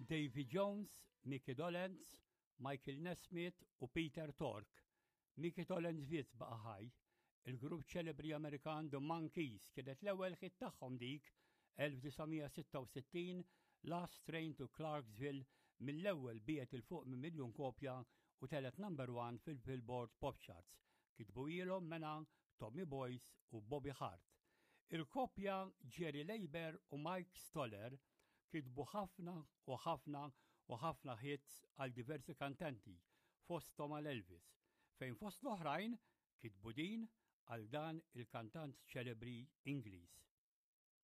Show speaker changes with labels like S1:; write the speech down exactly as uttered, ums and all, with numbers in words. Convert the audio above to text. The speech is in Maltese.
S1: Davy Jones, Mickey Dolenz, Michael Nesmith u Peter Tork. Mickey Dolenz biss baqa' ħaj. Il-grupp ċelebri Amerikan The Monkees kienet l-ewwel hit tagħhom dik elf disa' mija sitta u sittin, Last Train to Clarksville, mill-ewwel biegħet 'il fuq minn miljun kopja u telgħet number one fil-Billboard Pop Charts. Kitbuhielhom mela Tommy Boyce u Bobby Hart. Il-kopja Jerry Leiber u Mike Stoller kitbu ħafna u ħafna u ħafna hits għal diversi kantanti, fosthom għal Elvis, fejn fost l-oħrajn kitbu din għal dan il-kantant ċelebri Ingliż.